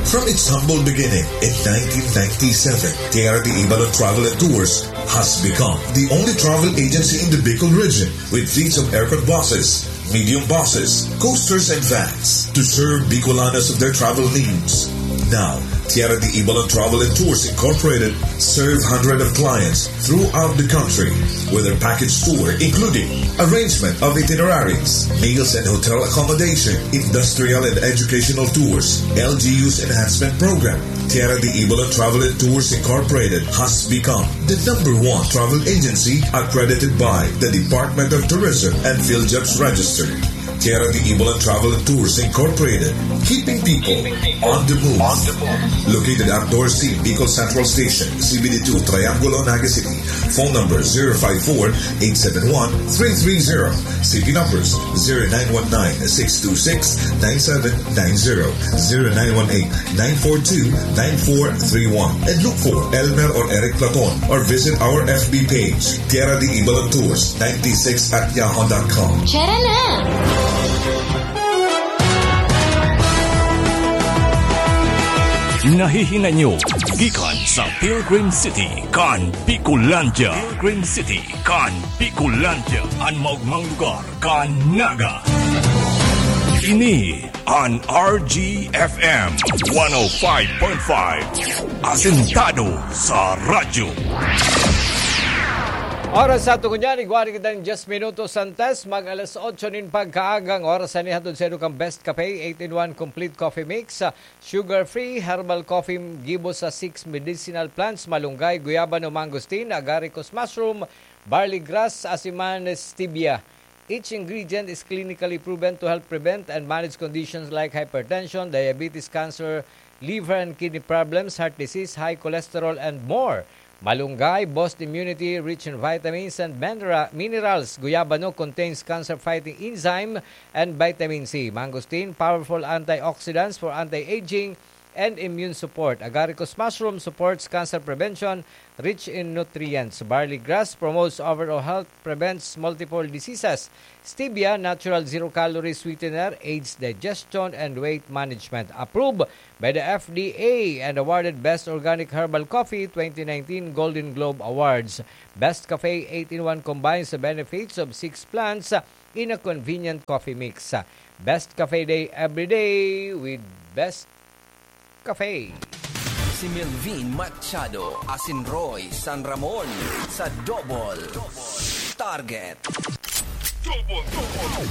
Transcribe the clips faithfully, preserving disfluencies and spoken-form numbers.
From its humble beginning in nineteen ninety-seven, Tierra de Ibalon Travel and Tours has become the only travel agency in the Bicol region with fleets of aircon buses, medium buses, coasters, and vans to serve Bicolanos of their travel needs. Now, Tierra de Ibalon Travel and Tours Incorporated serve hundreds of clients throughout the country with their package tour, including arrangement of itineraries, meals and hotel accommodation, industrial and educational tours, L G U's enhancement program. Tierra de Ibalon Travel and Tours Incorporated has become the number one travel agency accredited by the Department of Tourism and PhilJobs Register. Tierra de Ibalon Travel and Tours Incorporated, keeping people on the move. Located at Dorsey, Bicol Central Station, C B D two, Triangulo, Naga City. Phone number zero five four, eight seven one, three three zero. City numbers zero nine one nine, six two six, nine seven nine zero, zero nine one eight, nine four two, nine four three one. And look for Elmer or Eric Platon or visit our F B page, Tierra de Ibalon Tours ninety-six at yahoo dot com. Tara na! Nahihinay nyo gikan sa Pilgrim City kan Bicolandia. Pilgrim City kan Bicolandia, an maogmang lugar kan Naga. Ini an R G F M one oh five point five, asentado sa radyo. Oras sa tungo niyan, igwa na kita nin diyes minutos antes mag alas otso nin pagkaagang oras. Ini hatod sa inyo kan Best Cafe, eight-in-one Complete Coffee Mix, sugar-free herbal coffee gibo sa six medicinal plants, malunggay, guyabano, mangosteen, agaricus mushroom, barley grass, asin man stevia. Each ingredient is clinically proven to help prevent and manage conditions like hypertension, diabetes, cancer, liver and kidney problems, heart disease, high cholesterol, and more. Malunggay, boost immunity, rich in vitamins and minera-, minerals. Guyabano contains cancer-fighting enzyme and vitamin C. Mangosteen, powerful antioxidants for anti-aging and immune support. Agaricus mushroom supports cancer prevention, rich in nutrients. Barley grass promotes overall health, prevents multiple diseases. Stevia, natural zero-calorie sweetener, aids digestion and weight management. Approved by the F D A and awarded Best Organic Herbal Coffee twenty nineteen Golden Globe Awards. Best Cafe eight-in-one combines the benefits of six plants in a convenient coffee mix. Best Cafe Day every day with Best Cafe. Si Melvin Machado, asin Roy San Ramon sa Double Target. Double, double.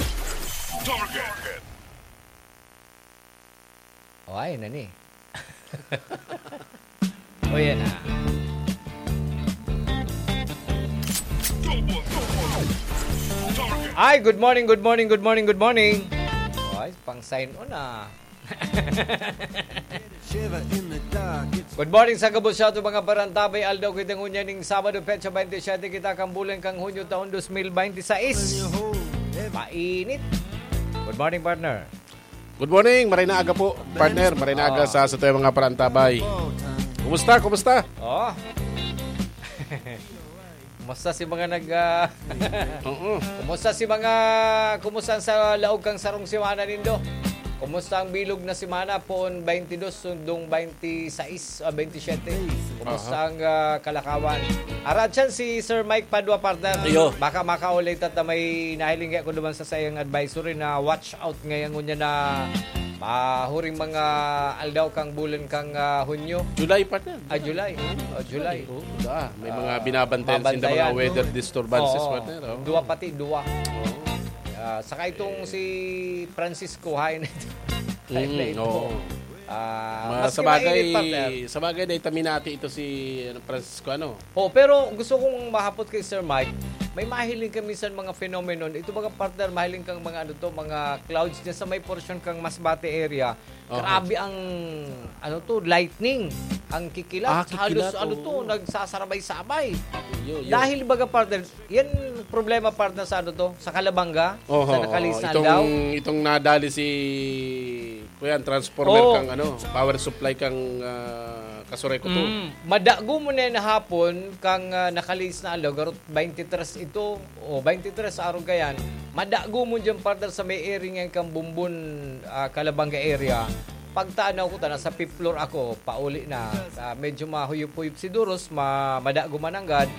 Target. O, ay, nani? O, yan na. Ay, good morning, good morning, good morning, good morning. Ay, pang sign on ah. Good morning sa gabos sa ato mga parantabay. Aldaw kita ngunyan ning Sabado, petsa twenty-seven kita kan bulan kan Hunyo, taon dos mil bente seis. Mainit. Good morning, partner. Good morning, maray na aga po, partner. Maray na aga sa, sa tayo mga parantabay. Kumusta? Kumusta? Oh. Kumusta si mga nag, ah, Oo. Kumusta si mga, kumusta ang sa laog kang sarong semana nindo? Kumusta ang bilog na semana, poon twenty-two, sundong twenty-six, ah, twenty-seven? Kumusta Aha. ang, ah, kalakawan? Aratyan si Sir Mike Padua, partner. Iyo. Baka makaulay ta ta may nahiling ako naman sa sayang advisory na watch out ngayon ngunyan na mahuring mga aldaw kang bulan kang, ah, Hunyo. July, partner. Ah, July. Oh, July. Oh, da. May mga Ah, binabantayan sinda mga babantayan. weather disturbances, Oo. partner, oh. Duwa pati, duwa. Oo. Ah, saka itong si Francisco, hain na ito. Hain na Mm, ito. oo. Ah, Ma-, maski sa bagay, mainit, partner. sa bagay, dahil taminati ito si, ano, Francisco, ano? Oh, pero gusto kong mahapot kay Sir Mike, may mahiling ka minsan mga phenomenon. Ito, mga partner, mahiling kang mga, ano to, mga clouds dyan sa may portion kang Masbate area. Aha. Grabe ang, ano to, lightning. Ang kikilat. Ah, kikilat, Halos, ano to, oo. nagsasarabay-sabay. Yo, yo. Dahil, baga, partner, yan problema, partner, sa, ano to, sa Calabanga, Oho, sa nakalis oho. na Itong, aldaw. itong nadali si, kuyan, transformer Oo. kang, ano, power supply kang, ah, Kasurekoto. Mm. Madago mo na yan hapon, kang, ah, nakalis na aldaw, garot twenty-three ito, o twenty-three sa araw kayan, madago mo dyan, partner, sa may area ngayon kang Bumbon, ah, Calabanga area. Pagtanaw ko, ta nasa fifth floor ako, pauli na. Ah, medyo mahuyop-huyop si Duros, ma-, madago mananggad.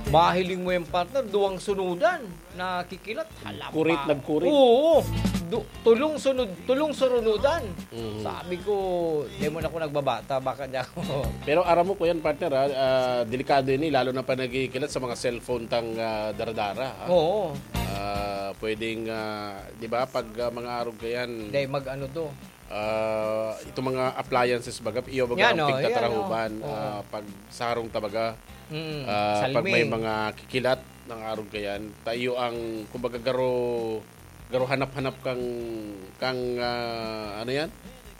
Mahiling mo yung partner, duwang sunudan. Nakikilat. Hala, Kurit, ma-, nagkurit. Oo. Du-, tulong sunod, tulong surunudan. Mhm. Sabi ko, "Di mo na ako nagbabata, baka di ako." Pero aram mo, kuya, partner, ah, ah, delikado ini, lalo na pa nagkikilat sa mga cellphone tang, ah, daradara, ah. Oo. Ah, pwedeng, ah, di ba, pag, ah, mga arog kayan, Dahil mag-ano to? Ah, itong mga appliances baga, iyo baga Yan, ang oh, yan, pigtatarahuban, oh. Oo. ah, pag sa harong ta baga, Mm, ah, pag may salming. mga kikilat ng arog kayan, ta iyo ang, kumbaga, garo, garo hanap-hanap kang, kang, ah, ano yan?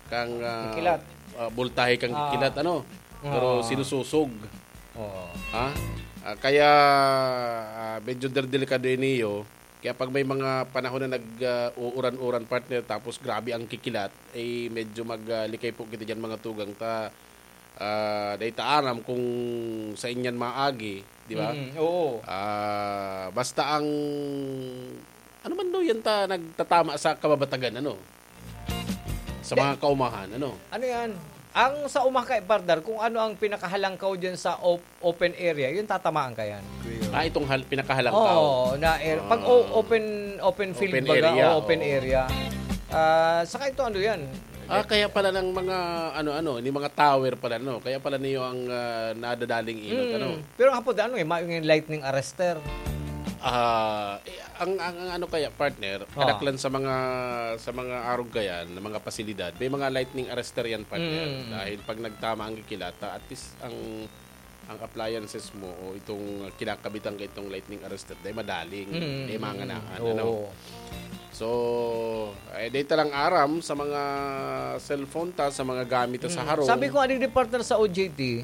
Kang, ah, Kikilat. ah, bultahe kang Ah. kikilat, ano? Pero Oo. sinususog. Oo. Ha? Ah, kaya, ah, medyo der-, delikado yun iyo. Kaya pag may mga panahon na nag, ah, uuran-uran, partner, tapos grabe ang kikilat, eh, medyo mag, ah, likay po kita diyan, mga tugang ta, ah, dai ta aram kung sa inyan maagi, di ba? Mm, oo. Ah, basta ang, ano man daw yan ta nagtatama sa kababatagan, ano? Sa Di- mga kaumahan, ano? Ano yan? Ang sa uma kay partner, kung ano ang pinakahalangkaw dyan sa op-, open area, yun tatamaan ka yan. Ah, itong hal-, pinakahalangkaw. Oo, na air-, pag Ah. o-, open, open field Open baga, area, o open oo. area. Ah, saka ito ano yan? Ah, kaya pala ng mga ano-ano, ni mga tower pala, no? Kaya pala niyo ang, ah, nadadaling inot, Mm. ano? Pero ang hapon, ano eh, ma-, yung lightning arrester. Ah, eh, ang, ang, ang ano kaya, partner, Ah. kadaklan sa mga, sa mga arog kayan, na mga pasilidad, may mga lightning arrester yan, partner. Mm. Dahil pag nagtama ang kikilat, ah, at least ang, ang appliances mo o itong kinakabitan ka itong lightning arrester, dahil madaling, Mm. dahil manganaan, Oo. ano? So, eh, dahil talang aram sa mga cellphone ta, sa mga gamit ta sa Mm. harong. Sabi ko, aning di partner sa O J T,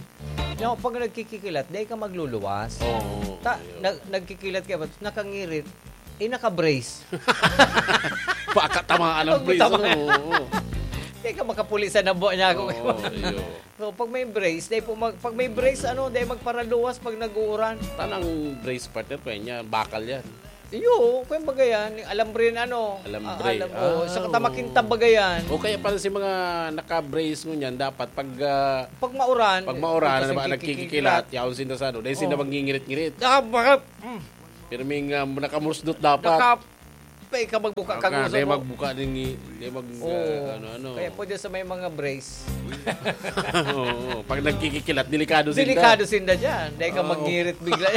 na pag nagkikikilat, dahil ka magluluwas. Oo, Ta-, ayun. nag-, nagkikilat ka, ba't nakangirit? Eh, naka-brace. Baka tamaan ang Pag brace, tama- ano? Oo. Di ka makapulisan na buwan niya ako. Oo, iyo. So, pag may brace, dahil po mag-, pag may brace, ano, dahil magparaluwas pag nag-uuran. Tanang brace, partner, kaya niya, bakal yan. Iyo, kaya baga yan, yung alambre na ano. Alambre. Ah, alam, oo, Ah, sa katamakin oo. tabaga yan. O kaya pala si mga naka-brace ngunyan, dapat pag, ah, Pag mauran, pag mauran, kasi na ba, nagkikikilat. nagkikikilat, yaon sinda sa ano, dahil sinda Oo. mangingirit-ngirit. Ah, baka, mm. Pero may nga, nakamusdot dapat. Naka-, pa ikaw magbuka Ah, kang ka, uso dahil mo. magbuka din, i-, dahil mag, Oo. ah, ano, ano. Kaya pwede sa may mga brace. Oo, pag nagkikikilat, delikado sinda. Delikado sinda dyan. Dahil ka Ah, oo. mangirit bigla.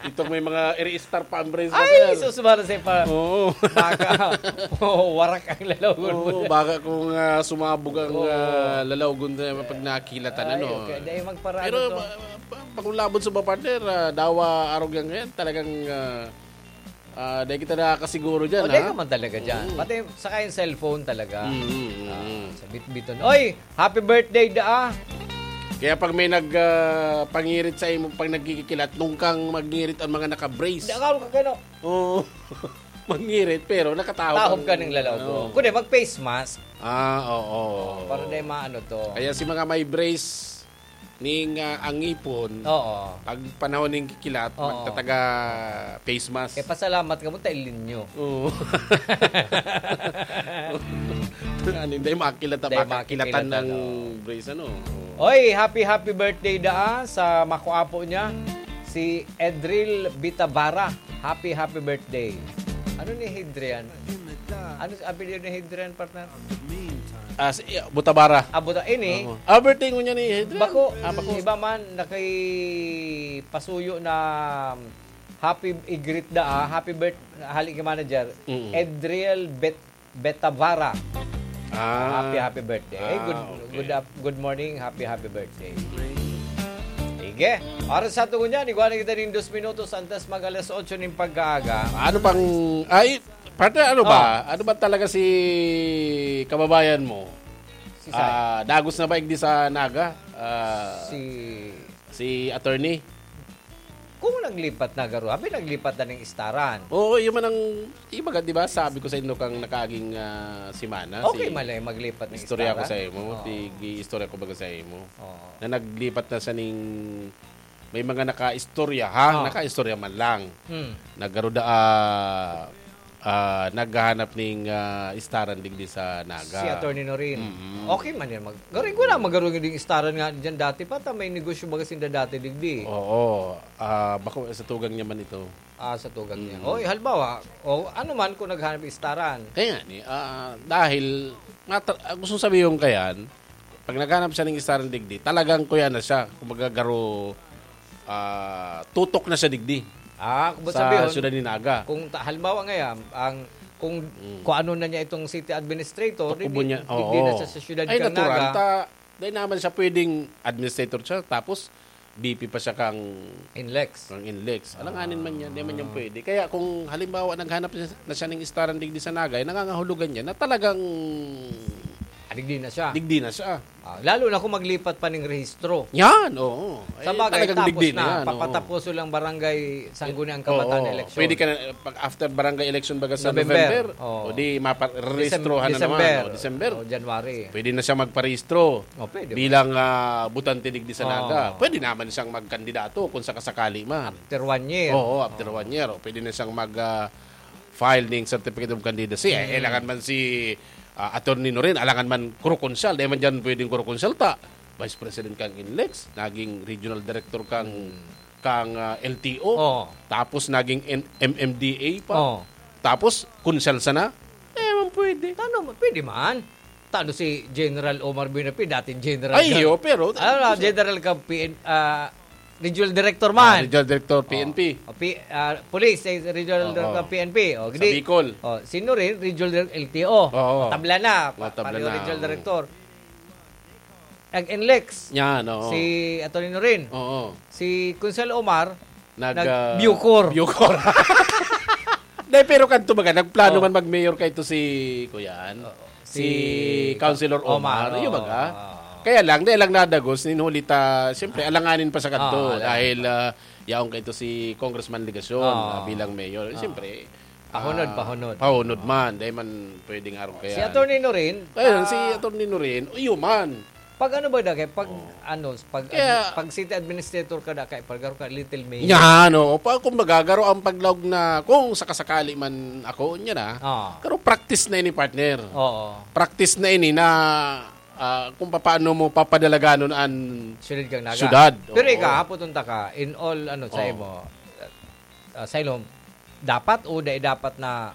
Itong may mga iri-star pa ang brace Ay, natin. sus, mara sa pa. Oo. Baka, oo, warak ang lalaw. Oo, baka kung, ah, sumabog ang, Oo. ah, lalawgon na pag nakilatan, Ay, ano. okay. Dahil magparado Pero, to. pa-, pa-, pag ulabon sa mga partner, ah, dawa arog yan ngayon, talagang, ah, ah, dahil kita nakakasiguro dyan, O, dahil ha? naman talaga dyan. Oo. Pati saka yung cellphone talaga. Mm, mm, mm, Ah, mm. sa bitbiton. Oy, happy birthday, daa. Kaya pag may nag, ah, pangirit sa imo, pag nagkikikilat, nung kang magngirit ang mga naka-brace. Di, akala ko kano. Oo. Magngirit, pero nakatahop Tahop ang, ka ng lalaw ko. ano. Kundi, mag-face mask. Ah, oo. Oh, para di maano to. Kaya si mga may brace, ning, ah, ang ngipon, Oo. pag panahon ning kikilat, Oo. magtataga face mask. Kaya pasalamat ka mo, tailin nyo. Oo. Ano, hindi makilata, Hindi makakilatan makikilata, ng no. brace, ano? Oo. Oy, happy, happy birthday daa sa makuapo niya, si Edril Bitavara. Happy, happy birthday. Ano ni Hidrian? Ano sa apelyido ni Hidrian, partner? Ah, si, ah, Butabara. Ah, Buta-, ini. Oo. Ah, birthday ngunyan ni Hidrian. Bako, Ah, bako. iba man, nakipasuyo na happy, i-greet da, ah, happy birth-, hali ki manager, Mm. Edriel Bet-, Betavara. Ah. Happy, happy birthday. Ah, Good, okay. good up-, good morning, happy, happy birthday. Sige. Oras sa tungo niyan, igwa na kita ning dos minutos antes mag alas otso ning pagkaaga. Ano pang, ay, partner, ano ba? Oh. Ano ba talaga si kababayan mo? Si Sai. Ah, dagos na ba igdi sa Naga? Ah, Si si attorney? Kung naglipat na garo, abi naglipat na ning istaran. Oo, yun man ang, ibaga, di ba, sabi ko sa inyo kang nakaaging, ah, semana, Okay, si malay, maglipat na istorya ko istaran. sa imo, Oo. tig-iistorya ko baga sa imo, Oo. na naglipat na siya ning, may mga nakaistorya, ha? Oo. Nakaistorya man lang. Hmm. Nagkaroon na, ah, ah, naghahanap ning, ah, istaran digdi sa Naga. Si Attorney Norin. Mm. Okay man yan. Mag-, garo, ko na, magaro yung istaran nga dyan dati pa. Ta may negosyo baga sinda dati digdi. Oo. Ah, bako sa tugang niya man ito. Ah, sa tugang niya. Mm. Oy, halimbawa, o ano man kung naghanap istaran. Kaya nga ni, ah, dahil mata-, ah, gusto sabihin yung kayan, pag naghanap siya ng istaran digdi, talagang kuya na siya. Kumbaga, garo, ah, tutok na siya digdi Ah, kung sa sabihon, siyudad ni Naga. Kung ta-, halimbawa ngayon, ang, kung, Mm. kung ano na niya itong city administrator, Tukubo di, niya. di, di na Oo. siya sa siyudad Ay, kang natural. Naga. Ta, dahil naman siya pwedeng administrator siya, tapos V P pa siya kang Inlex. kang Inlex. Alanganin man yan, di man yan Ah. pwede. Kaya kung halimbawa naghanap siya, na siya ng istaran digdi sa Naga, eh, nangangahulugan niya na talagang Ah, digdi na siya. digdi na siya. Ah, lalo na kung maglipat pa ng rehistro. Yan, oo. Sa Eh, bagay, talagang tapos digdi na na. yan, oo. Papataposo lang barangay Sangguniang Kabataan Oo. Eleksyon. Pwede ka na, pag after barangay election baga sa November. November, Oo. o di mapa-, rehistrahan na Decem-, naman, December. o December. O January. Pwede na siya magparehistro O, pwede. bilang, ah, botante digdi sa Oo. Naga. Pwede naman siyang magkandidato kung sakasakali man. After one year. Oo, after Oo. one year. O, pwede na siyang mag, ah, file ning certificate of candidacy. Eh, Hmm. alangan man si, ah, Attorney Norin, alangan man proconsul. Dahil man dyan pwedeng proconsul ta. Vice President kang Inlex, naging regional director kang, Hmm. kang, ah, L T O. Oo. Tapos naging N-, M M D A pa. Oo. Tapos, konsel sana. Eh, man pwede. Tano, pwede man. Tano si General Omar Buenafe, dating general Ay, ka. iyo, pero Ano na, general ka, P N, ah, regional director Ah, man. regional director, P N P. Oh, P-, ah, police, eh, regional Oo. director P N P. Oh, Sa gidi. Bicol. Oh, sino rin? Regional dir-, L T O. Oo. Tabla na. Pa-, Matabla pareho na. regional director. Nag-Inlex. Yan, oo. Si Attorney Norin. Oo. Si Konsel Omar, Nag, nag, ah, Bucor. Bucor. Dahil pero kanto baga, nagplano Oh. man mag-mayor kay ito si, kuyan, Oo. si Si Councilor Omar, Omar, yun oo. baga. Oo. Kaya lang, dahil lang nadagos, ninhuli ta, siyempre, alanganin pa sa kanto. Ah, alanganin Dahil, pa. ah, yaong kay ito si Congressman Legacion, Oo. ah, bilang mayor. Oo. Siyempre, Pahunod, ah, pahunod. pahunod Oo. man. Dahil man pwedeng arog kaya. Si Attorney Norin, Kaya, ah, si Attorney Norin, iyo man. Pag ano ba, Dagay? Pag Oo. ano, pag Kaya ad-, pag city administrator ka, Dagay, pag garo ka, little mayor. Yan, oo. Pa, kung magagaro ang paglaog na, kung sakasakali man ako, niya na, Ah. pero practice na ini, partner. Oo. Practice na ini na, ah, kung papaano mo papadalaganon an Siyudad kang Naga. siyudad. Pero Oo. ikaw, hapoton ta ka, in all, ano, sa Oo. imo, ah, sa imo, dapat o dai dapat na